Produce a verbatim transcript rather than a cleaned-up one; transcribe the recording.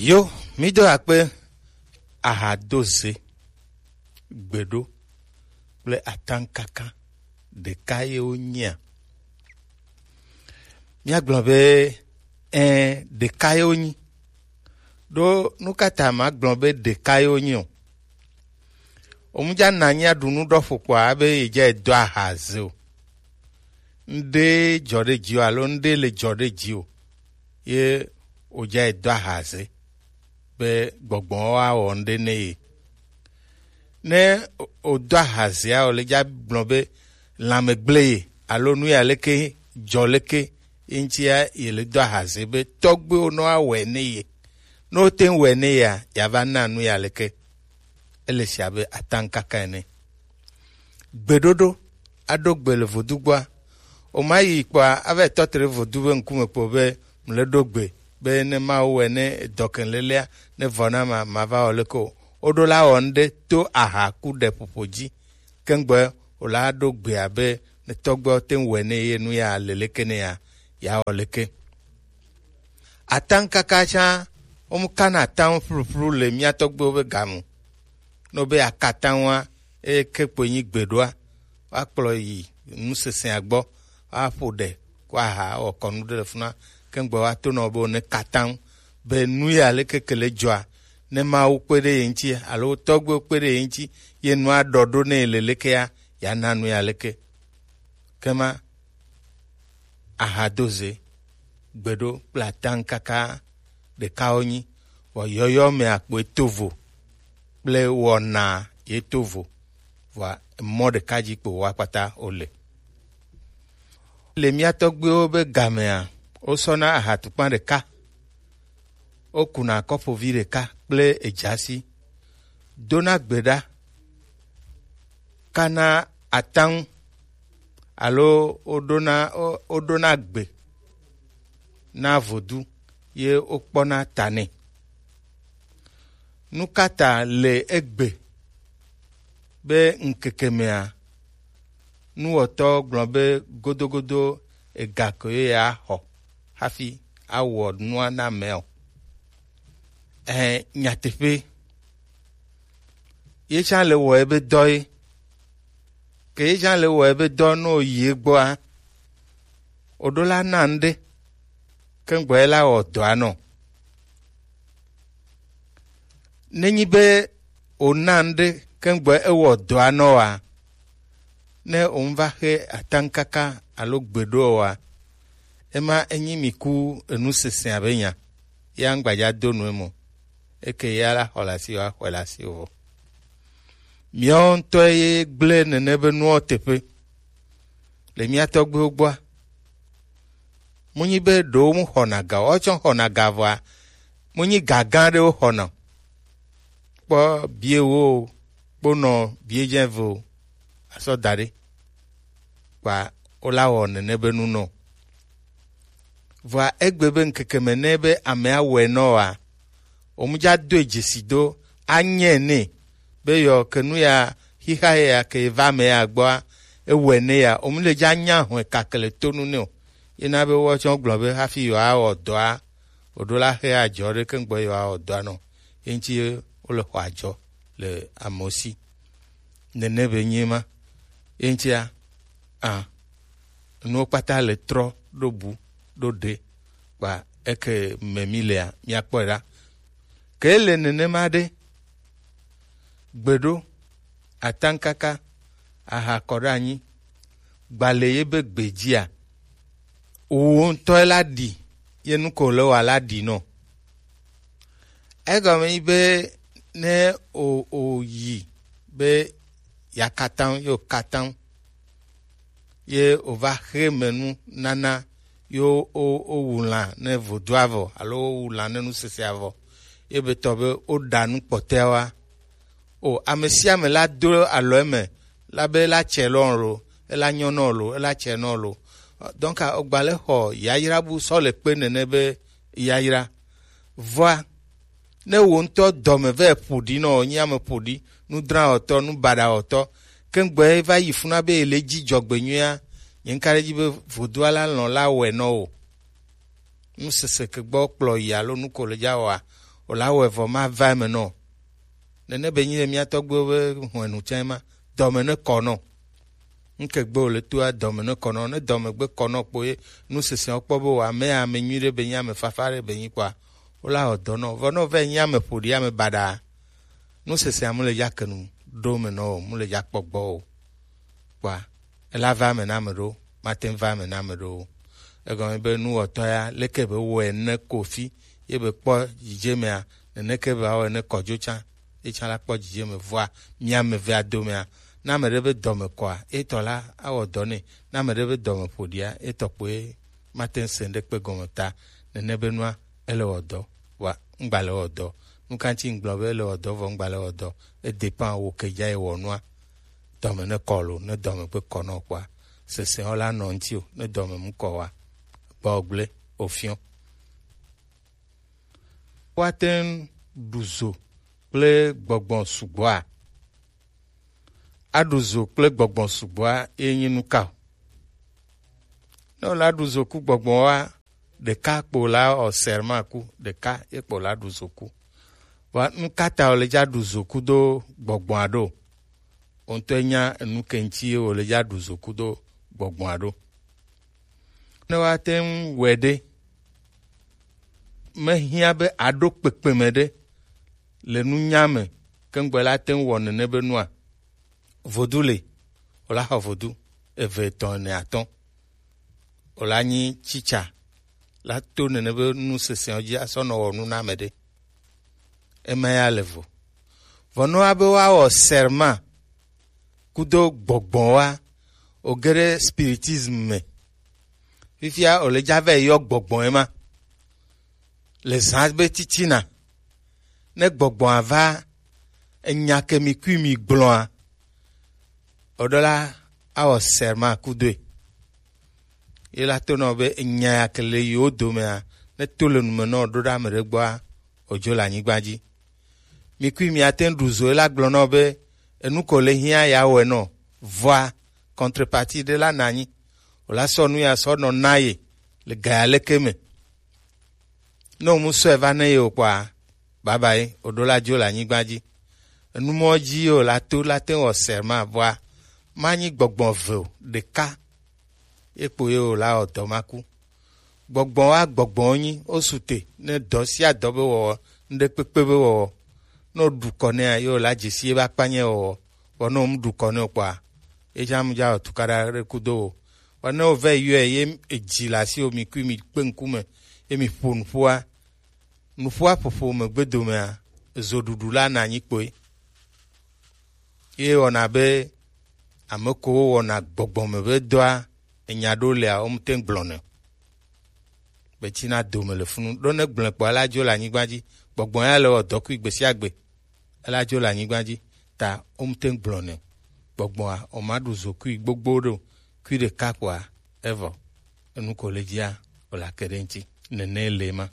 Yo, mi do akpe. Aha do ze, gbeɖo kple atankaka ɖeka ye wonyia? Míagblɔ be, ẽ, ɖeka ye wonyi. Ɖo nu ka ta magblɔ be ɖeka ye wonyi o? Omudza na nyia ɖu nu ɖɔ ƒo kpɔa be yedza do aha ze o. Ŋɖe dzɔ ɖe dzi o alo ŋɖe le dzɔ ɖe dzi o. Ye wodza do aha ze be gbɔgbɔ wa wɔ ŋɖe ne ye. Ne o-, odo ahazia o le dza gblɔ be lãme gblẽ ye alo nu ya leke dzɔ leke ye ŋutia ye le do ahaze be tɔgbuiwo nɔ awɔe ne ye. Ne wote ŋu wɔe ne yea, yeava na nu ya leke. Ele sia be atankaka ene. Gbeɖoɖo, aɖo gbe le vodu gbɔa. O ma yi kpɔa, ava yi tɔ te ɖe vodu be ŋkume kpo be mle ɖo gbe be ne Mawu wɔe ne edɔ ke lelea, ne vɔ na ma, ma va wɔ leke o. Woɖo la wɔ ŋɖe to aha ku ɖe ƒoƒo dzi. Kengbe o la ɖo gbea be ne tɔgbewo te ŋu wɔe ne ye nu ya le leke ne ya, ya wɔ leke. Atankaka tsã, womu kana ataŋu ƒluƒlu le mía tɔgbuiwo be game. Ne wobe akataŋua, eye ke kpoe nyi gbeɖoa, woakplɔ yi nusesẽa gbɔ, woaƒo ɖe, kɔ aha wɔ kɔnu ɖe le funa, ke ŋgbe woato nɔ be wone kataŋu, be nu ya leke ke le dzɔa, ne Mawu kpe ɖe ye ŋuti, alo tɔgbuiwo kpe ɖe ye ŋuti, ye nua ɖɔ ɖo ne ye le lekea, yeana nu ya leke. Kema ahadoze, gbeɖo kple ataŋkaka ɖeka wonyi, vɔ yɔyɔ me akpoe to vo kple wɔna ye to vo, vɔa mɔ ɖeka dzi kpo woakpata wole. Le mía tɔgbuiwo be gamea, wosɔna ahatukpa ɖeka, wokuna kɔƒovi ɖeka kple edzasi, dona gbe ɖa, kana ataŋu, alo woɖona, wo-, woɖona gbe na vodu ye wokpɔna ta nɛ. Nu ka ta le egbe be ŋkeke mea, nuwɔtɔ gblɔ be godogodo ega ko ye axɔ hafi awɔ nua na amea o? Ɛ, nyateƒe. Ye tsã le wɔ ebe dɔ ye. Ke ye tsã le wɔ ebe dɔ nɔ yi egbɔa, oɖo la na ŋɖe, ke ŋgbɔ ye la wɔ dɔa nɔ. Nenyi be wòna ŋɖe ke ŋgbɔ ewɔ dɔa nɔ wa, ne wòva xe ataŋkaka alo gbeɖo wa, ema enyi mi ku enu sesẽ abe nya, ya ŋgbadza do nu emo. Eke ya la xɔ le asi wa, xɔe le asi o. Miawo ŋutɔ ye gblẽ nene be nuwo teƒe le mía tɔgbuiwo gbɔa. Munyi be ɖewo mu xɔna ga, woawo tsɔ xɔna ga vɔa, munyi ga gã ɖewo xɔna. Kpɔ bie wo, kponɔ bie dze ve o, asɔ da ɖe. Kpa wola wɔ nene be nu nɔ. Vɔa egbe be ŋkeke me ne be amea wɔe nɔ wa, womudza doe dzesi do anyɛ nɛ be yɔ ke nu ya xixa ya ke va me ya gbɔa, ewɔe ne ya, womule dza nya hɔe kakle tonu nɛ o. Yena be woawo tsɔ gblɔ be hafi yewoawɔ dɔa, oɖo la xe adzɔ ɖe ke ŋgbɔ yewoawɔ dɔa nɔ. Ye ŋuti wole xɔ adzɔ le amewo si. Nene be nyi ma. Ye ŋutia, a, nuwo kpata le trɔ ɖo bu ɖo ɖe, kpa eke me mi lea, miakpɔe ɖa. Ke le nenema ɖe, gbeɖo, ataŋkaka, aha kɔ ɖe anyi, gbale ye be gbe dzia, wò ŋutɔ la ɖi, ye nu ko le wa la ɖi nɔ. Egɔme nyi be ne o, o yi be ya kataŋ, yo kataŋ, ye o va xe me nu nana, yo o, o wu lã ne vodua vɔ, alo o wu lã ne nu sesea vɔ, ye be tɔ be o ɖa nu kpɔtɛa wa. O, ame sia ame la do alɔ eme, la be la tsɛ lɔ lo, ela nyɔ nɔ lo, ela tsɛ nɔ lo. Donc, o gba le xɔ yayra bu sɔ le kpe nene be yayra. Vɔa, ne wò ŋutɔ dɔme vɛ ƒo ɖi nɔ, wònye ame ƒo ɖi, nudrawɔtɔ, nubaɖawɔtɔ, ke ŋgbɔ ye va yi funa be ele dzi dzɔgbenyuia, nye ŋka ɖe dzi be vodua la lɔ̃ la wɔe nɔ o. Nusese ke gbɔ kplɔ yi alo nu ko le dza wɔa, O la wɔ evɔ ma va eme nɔ. Nene be nyi ɖe mía tɔgbuiwo be hwenu tsã ma. Dɔme ne kɔ nɔ. Nke gbe o le toa dɔme ne kɔ nɔ. Ne dɔme gbe kɔ nɔ kpo ye nu sese kpɔ be o ame ame nyui ɖe be nyi ame fafa ɖe be nyi kpɔa. O la wɔ dɔ nɔ. Vɔ nɔ vɛ nyi ame ƒoɖi ame baɖa. Nu sese amu le ya kenu ɖo me nɔ o, mu le ya kpɔ gbɔ o. Kpɔa, ela va eme na ame ɖewo, mate ŋu va eme na ame ɖewo. Egɔme be nuwɔtɔ ya, leke be wɔe ne kofi, ye be kpɔ dzidzemea, neneke be awɔe ne kɔdzo tsã, ye tsã la kpɔ dzidzeme. Vɔa, mia ame evea domea, ne ame ɖe be dɔme kɔa, etɔ la awɔ dɔ nɛ. Ne ame ɖe be dɔme ƒo ɖia, etɔ kpoe mate ŋu se ŋɖekpe gɔme ta. Nene be nua, ele wɔ dɔ. Wa, ŋgba le wɔ dɔ. Nu ka ŋuti ŋgblɔ be ele wɔ dɔ, vɔ ŋgba le wɔ dɔ? E dépend wo ke dza ye wɔ nua. Dɔme ne kɔ lo, ne dɔme gbe kɔ nɔ kpɔa, sese wo la nɔ ŋuti o, ne dɔme mu kɔ wa, gbɔ gble, ofiɔ. Woate ŋu ɖu zo kple gbɔgbɔ sugbɔa? Aɖu zo kple gbɔgbɔ sugbɔa ye nyi nu ka o? Ne wòle aɖu zo ku gbɔgbɔ wa, ɖeka kpo la wɔ serment ku, ɖeka ye kpo la ɖu zo ku. Vɔa nu ka ta wòle dza ɖu zo ku do gbɔgbɔa ɖo? Wo ŋutɔ nya enu ke ŋuti ye wòle dza ɖu zo ku do gbɔgbɔa ɖo. Ne woate ŋu wɔe ɖe, mehiã be aɖo kpekpeme ɖe le nunya me keŋgbɔ la te ŋu wɔ nene be nua? Vodu le, wòla xɔ vodu eve, etɔ̃, ene, atɔ̃. Wòla nyi tsitsa la to nene be nu sesẽwo dzi asɔ nɔ wɔ nu na ame ɖe. Ema ya le vo. Vɔ ne woa be woawɔ serment kudo gbɔgbɔ wa, wòge ɖe spiritisme me. Fifia wòle dza va yi yɔ gbɔgbɔ ye ma. Le zã be titina, ne gbɔgbɔa va, enya ke mi kui mi gblɔa, oɖo la awɔ serment kudoe. Ye la to nɔ be enya ya ke le yewo domea, ne to le nume nɔ ɖo ɖe ame ɖe gbɔa, odzo le anyigba dzi. Mi kui mi ate ŋu ɖu zo, ye la gblɔ nɔ be enu ko le hiã ya wɔe nɔ, vɔa contrepartie ɖe la na anyi. O la sɔ nu ya sɔ nɔ na ye le ga ya leke me. Ne wo mu sɔe va ne ye o kpɔa, babayi, oɖo la dzo le anyigba dzi. Enumɔ dzi ye o la to la te wɔ serment vɔa, manyi gbɔgbɔ ve o, ɖeka ye kpo ye o la wɔ dɔ ma ku. Gbɔgbɔ wa gbɔgbɔ wo nyi, wo su te ne dɔ sia dɔ be wɔwɔ, ŋɖe kpekpe be wɔwɔ. Ne wo ɖu kɔ nɛa, ye o la dzesi ye be akpanye wɔwɔ. Vɔ ne wo mu ɖu kɔ ne o kpɔa, ye tsã mu dza wɔ tukaɖa ɖe kudo o. Vɔ ne wo vɛ yɔe ye edzi le asi o, mi kui mi kpe ŋkume, ye mi ƒo nuƒoa, nuƒoa ƒoƒo megbe domea, ezo ɖuɖu la na anyi kpoe. Ye wɔna be ame kowo wɔna gbɔgbɔ me be dɔa, enya ɖewo lia, wo mute ŋu gblɔnɛ o. Be tsina dome le funu. Ɖo ne gblɔe kpɔa, ela dzo le anyigba dzi. Gbɔgbɔ ya le wɔ dɔ kui gbe sia gbe. Ela dzo le anyigba dzi. Ta wo mute ŋu gblɔnɛ o. Gbɔgbɔa, o ma ɖu zo kui gbogbo ɖe o. Kui ɖeka kpɔa, evɔ. Enu ko le dzia, o la ke ɖe ŋuti. Nene le ma.